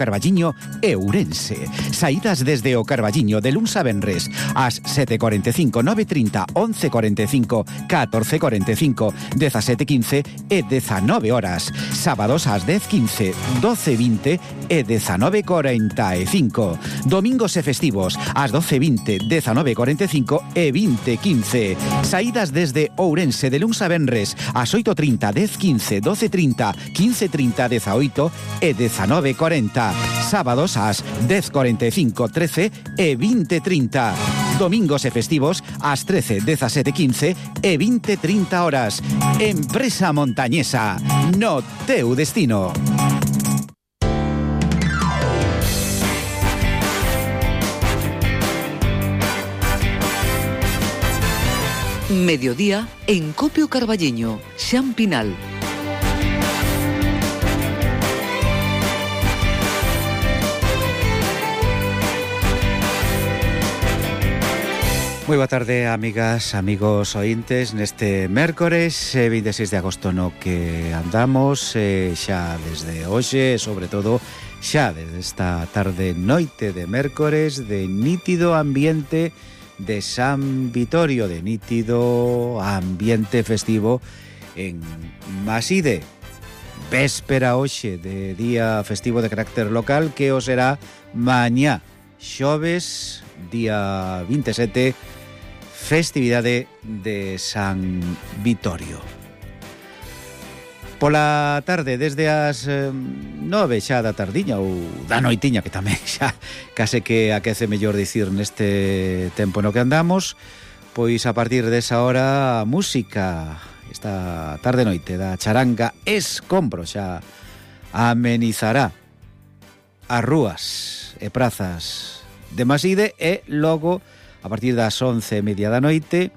Carballiño e Ourense. Saídas desde o Carballiño de luns a venres ás 7:45, 9:30, 11:45, 14:45, 17:15 e 19 horas. Sábados ás 10:15, 12:20 e 19:45. Domingos e festivos ás 12:20, 19:45 e 20:15. Saídas desde Ourense de luns a venres ás 8:30, 10:15, 12:30, 15:30, 18 e 19:40. Sábados ás 10:45, 13 e 20:30. Domingos e festivos ás 13, 17:15 e 20:30 horas. Empresa Montañesa, no teu destino. Mediodía en Copio Carballiño, Xan Pinal. Moi boa tarde, amigas, amigos ointes, neste mércores 26 de agosto no que andamos, xa desde hoxe, sobre todo xa desde esta tarde noite de mércores, de nítido ambiente de San Vitorio, de nítido ambiente festivo en Maside. Véspera hoxe de día festivo de carácter local que o será mañá, xoves, día 27, festividade de San Vitorio. Pola tarde, desde as 9 xa da tardiña ou da noitiña, que tamén xa case que aquece mellor dicir neste tempo no que andamos, pois a partir desa hora a música esta tarde noite da charanga Escombro xa amenizará as rúas e prazas de Maside e logo a partir das 11:30 da noite,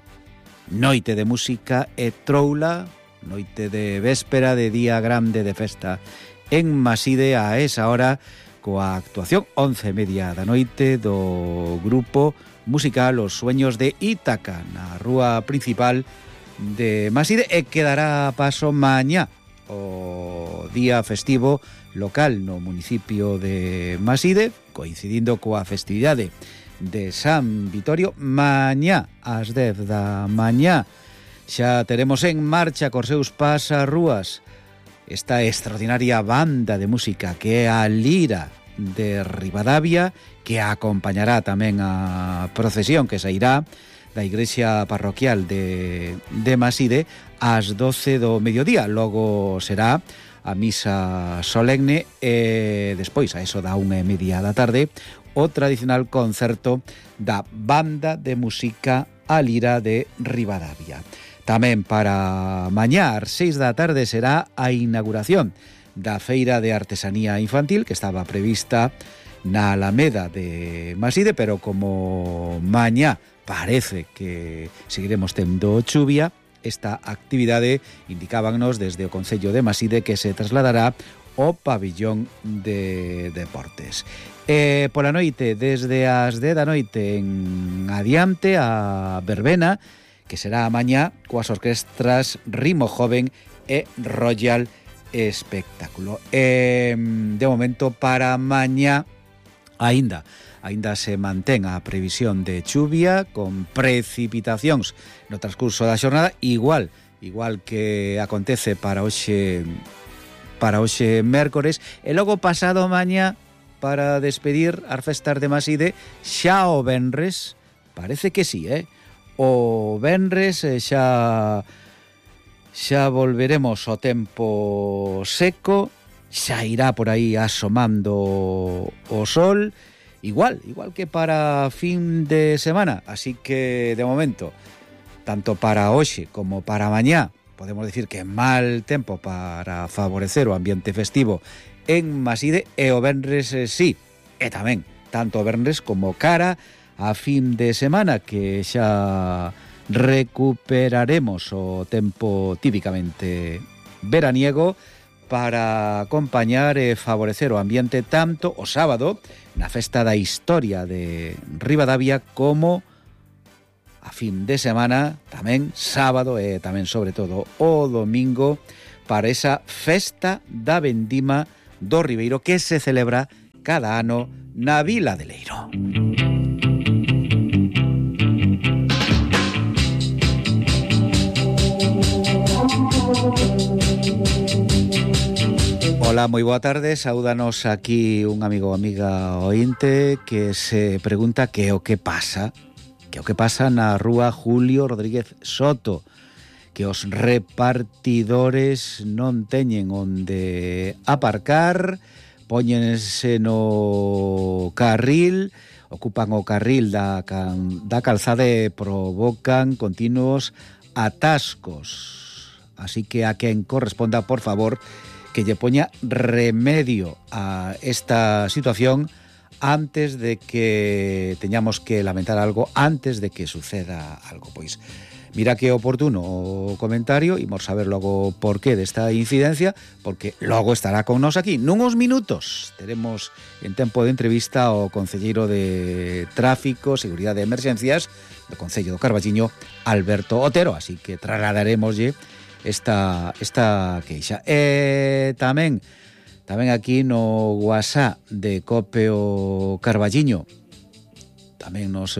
noite de música e troula, noite de véspera de día grande de festa en Maside a esa hora coa actuación 11:30 da noite do grupo musical Os Sueños de Ítaca na rúa principal de Maside e quedará paso mañá o día festivo local no municipio de Maside, coincidindo coa festividade de San Vitorio. Mañá ás 10 da mañá xa teremos en marcha cos seus pasarrúas esta extraordinaria banda de música que é a Lira de Ribadavia, que acompañará tamén a procesión que sairá da igrexa parroquial de Maside ás 12 do mediodía. Logo será a misa solemne e despois, a eso da 1:30 da tarde, o tradicional concerto da banda de música A Lira de Ribadavia. Tamén para mañá, ás 6 da tarde, será a inauguración da Feira de Artesanía Infantil, que estaba prevista na Alameda de Maside, pero como mañá parece que seguiremos tendo chuvia, esta actividade indicábanos desde o Concello de Maside que se trasladará ao pabillón de deportes. Pola noite, desde as 10 da noite en adiante, a verbena, que será mañá coas orquestras Ritmo Joven e Royal Espectáculo. De momento, para mañá aínda se mantén a previsión de chuvia con precipitacións no transcurso da xornada, igual que acontece para hoxe mércores, e logo pasado mañá para despedir as festas de Maside xa o venres, parece que sí, o venres xa volveremos ao tempo seco, xa irá por aí asomando o sol, igual que para fin de semana, así que de momento, tanto para hoxe como para mañá, podemos decir que mal tempo para favorecer o ambiente festivo en Maside, e o venres sí, e tamén tanto o venres como cara a fin de semana, que xa recuperaremos o tempo típicamente veraniego para acompañar e favorecer o ambiente tanto o sábado na festa da historia de Ribadavia como a fin de semana, tamén sábado e tamén sobre todo o domingo, para esa festa da vendima do Ribeiro que se celebra cada ano na Vila de Leiro. Hola, moi boa tarde. Saúdanos aquí un amigo ou amiga ointe que se pregunta que o que pasa na rúa Julio Rodríguez Soto, que os repartidores non teñen onde aparcar, póñense no carril, ocupan o carril da calzada e provocan continuos atascos. Así que a quen corresponda, por favor, que lle poña remedio a esta situación antes de que teñamos que lamentar algo, antes de que suceda algo. Pois mira que oportuno o comentario, imos saber logo por qué desta incidencia, porque logo estará con nós aquí nuns minutos. Teremos en tempo de entrevista ao concelleiro de Tráfico, Seguridade e Emerxencias do Concello do Carballiño, Alberto Otero, así que trasladaremoslle esta queixa. Tamén aquí no WhatsApp de Copeo Carballiño tamén nos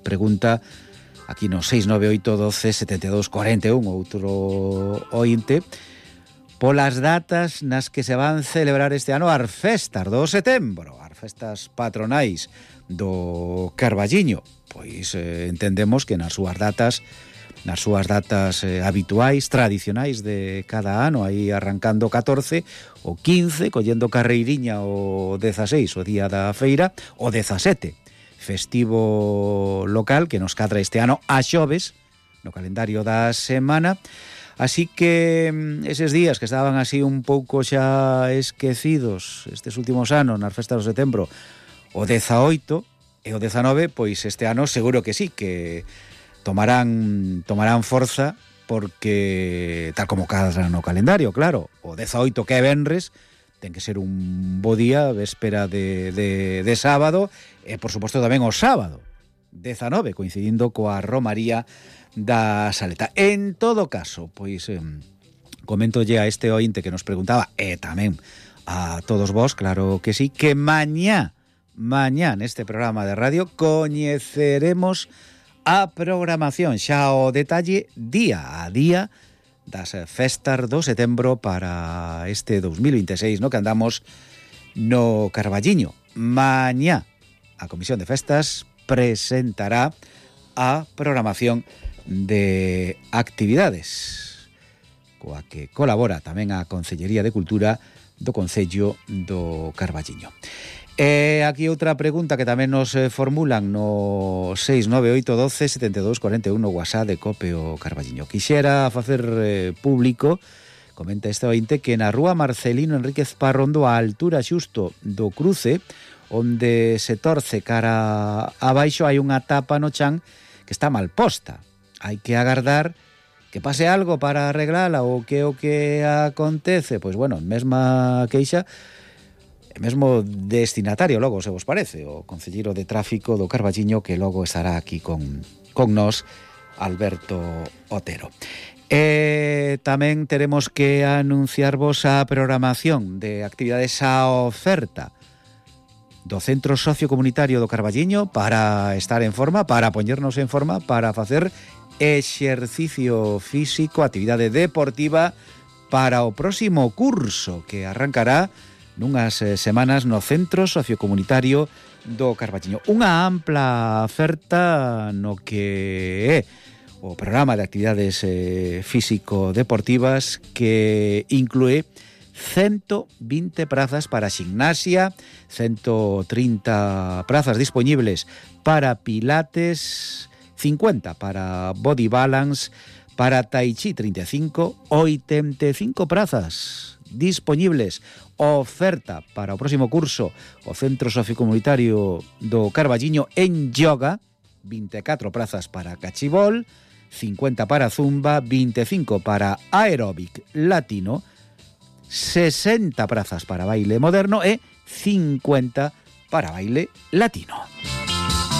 pregunta aquí no 698127241 outro ointe polas datas nas que se van celebrar este ano as festas do setembro, as festas patronais do Carballiño. Pois entendemos que nas súas datas habituais, tradicionais de cada ano, aí arrancando o 14, o 15, collendo carreiriña o 16, o día da feira, o 17, festivo local que nos cadra este ano a xoves, no calendario da semana. Así que eses días que estaban así un pouco xa esquecidos estes últimos anos nas festas do setembro, o 18 e o 19, pois este ano seguro que sí, que tomarán forza, porque tal como cadra no calendario, claro, o 18 que é venres ten que ser un bo día, véspera de sábado, e por suposto tamén o sábado 19, coincidindo coa romaría da Saleta. En todo caso, pois coméntolle a este ointe que nos preguntaba, e tamén a todos vos, claro que sí, que mañá neste programa de radio coñeceremos a programación, xa o detalle día a día das festas do setembro para este 2026, no que andamos no Carballiño. Mañá a Comisión de Festas presentará a programación de actividades coa que colabora tamén a Concellería de Cultura do Concello do Carballiño. Aquí outra pregunta que tamén nos formulan no 698127241 WhatsApp de Copeo Carballiño. Quixera facer público, comenta este ointe, que na rúa Marcelino Enríquez Parrondo, a altura xusto do cruce, onde se torce cara abaixo, hai unha tapa no chan que está mal posta. Hai que agardar que pase algo para arreglala, ou que o que acontece. Pois bueno, mesma queixa, mesmo destinatario logo, se vos parece, o concelleiro de Tráfico do Carballiño, que logo estará aquí con nós, Alberto Otero. Tamén teremos que anunciarvos a programación de actividades a oferta do Centro Sociocomunitario do Carballiño para estar en forma, para poñernos en forma, para facer exercicio físico, actividade deportiva para o próximo curso que arrancará nunhas semanas no Centro Sociocomunitario do Carballiño. Unha ampla oferta no que é o programa de actividades físico-deportivas, que inclúe 120 prazas para gimnasia, 130 prazas disponibles para pilates, 50 para body balance, para tai chi 35, 85 prazas disponibles. Oferta para o próximo curso o Centro Sociocomunitario do Carballiño en yoga, 24 prazas para cachibol, 50 para zumba, 25 para aeróbic latino, 60 prazas para baile moderno e 50 para baile latino.